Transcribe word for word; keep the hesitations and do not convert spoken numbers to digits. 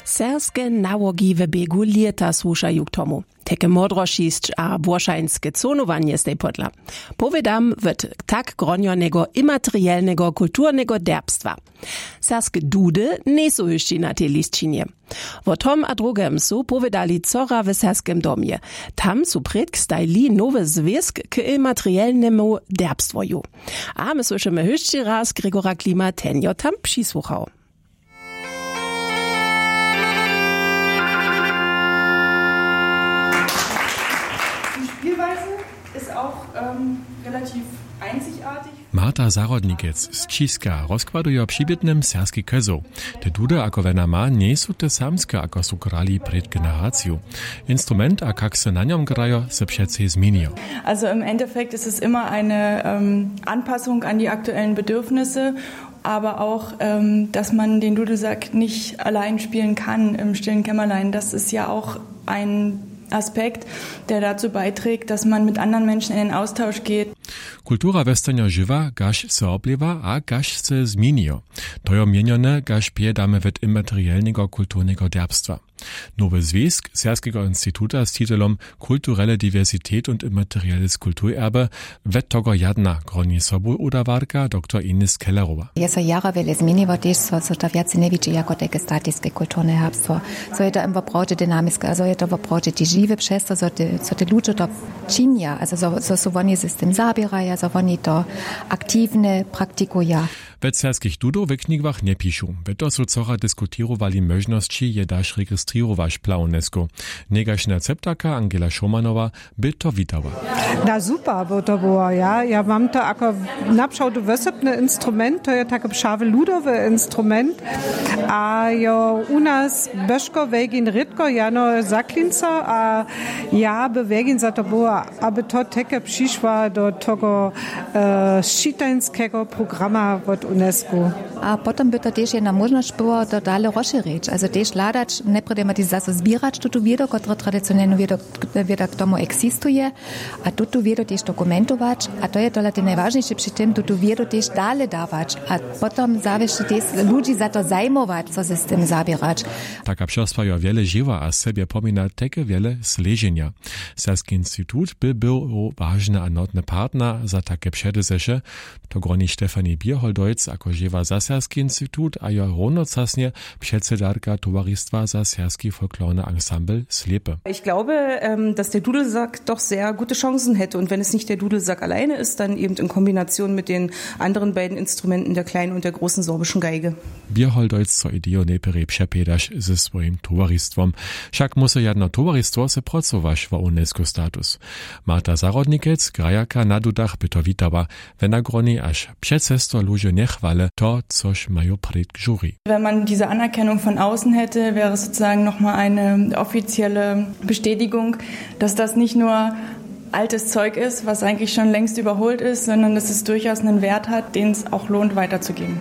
Serbske nałogi w běgu lěta słušaju k tomu. Teke modrošisć a błošańske cohnowanje stej podla. Powědam wot tak gronjoneho imaterielneho kulturneho derbstwa. Serbske dudy njejsu hyšći na tej lisćinje. Wo tom a drugem su powědali wčora w serbskem domje. Tam su prědk stajli nowy zwěsk k imaterielnemu derbstwoju. A my słyšimy hyšći raz Gregora Klima, ten jo tam přisłuchał. Die Spielweise ist auch ähm, relativ einzigartig. Marta Zahrodnikec z Ćiska rozkładuje při bědnym serbski kezoł. Te dudy, ako wjena ma, njejsu te samske, ako su grali prěd generaciju. Instrument a kak se na njom grajo, se přecej změnijo. Also im Endeffekt ist es immer eine ähm, Anpassung an die aktuellen Bedürfnisse, aber auch, ähm, dass man den Dudelsack nicht allein spielen kann im stillen Kämmerlein. Das ist ja auch ein Aspekt, der dazu beiträgt, dass man mit anderen Menschen in den Austausch geht. Kultura wostanje žiwa, kaž se oblěwa a kaž se změnijo. To jo měnjone, kaž pjedamy wot imaterielneho kulturneho derbstwa. Nowy zwěsk Serbskeho instituta z titelom Kulturele diversitet und imaterielles Kulturerbe wot togo jadna, groni sobu udawarka doktor Ines Kellerowa. Je so jara wjele změniło, tež so, so to wjace njewidźi jako tajke statiske kulturne herbstwo. So je to im woprawdźe dynamiske, a so je to woprawdźe tež žiwe přez to, so te, so te ludźe to činja, also so, so su woni z tym zaběraja, so woni to aktiwne praktikuja. We serbskich dudow w knigach njepišu. We to su wčora diskutirowali móžnosći, je daž registrirować pla UNESCO. Njejkaž na ceptaka Angela Schomanowa by to witała. Da super, bo to było, ja, ja mam to jako napřałdu wysepny instrument, to je taki přawy ludowy instrument. A jo, u nas beško wegin rědko jano zaklinca, a ja by wegin za to była, aby to teke přišła do tego e, šitańskeho programa wot UNESCO. A potom by to tež jedna móžnosć było, to dale rozšěrić, also tež hladać, najprjedy ma tež zaso zběrać tutu wědu, kotra tradicionelnu wědu, wěda k tomu eksistuje, a tutu wědu tež dokumentować, a to je tola te najwažniše při tym, tutu wědu tež dale dawać, a potom zawěsći tež ludźi za to zajmować, co se z tym zaběrać. Taka přespa jo wjele žiwa a sebje pomina teke wjele sleženja. Serbski institut by był wažny a notny partner za take předezeše. To groni Stefanie Bierholdojc, ako žěwa za serbski institut a jo równocasnje předsedarka towaristwa za serbski folklorny ansambl Slěpy. Ich glaube ähm, dass der Dudelsack doch sehr gute Chancen hätte und wenn es nicht der Dudelsack alleine ist, dann eben in Kombination mit den anderen beiden Instrumenten, der kleinen und der großen sorbischen Geige. Bierholdojc so ideju nejprjej přepjedaš ze swojim towaristwom. Wšak musu jedno towaristwo se procować wo UNESCO status. Marta Zahrodnikec, grajerka na dudach, by to witała. Wjena groni, až přecesto ludźo njechwale to, což maju prědk žuri. Wenn man diese Anerkennung von außen hätte, wäre es sozusagen noch mal eine offizielle Bestätigung, dass das nicht nur altes Zeug ist, was eigentlich schon längst überholt ist, sondern dass es durchaus einen Wert hat, den es auch lohnt weiterzugeben.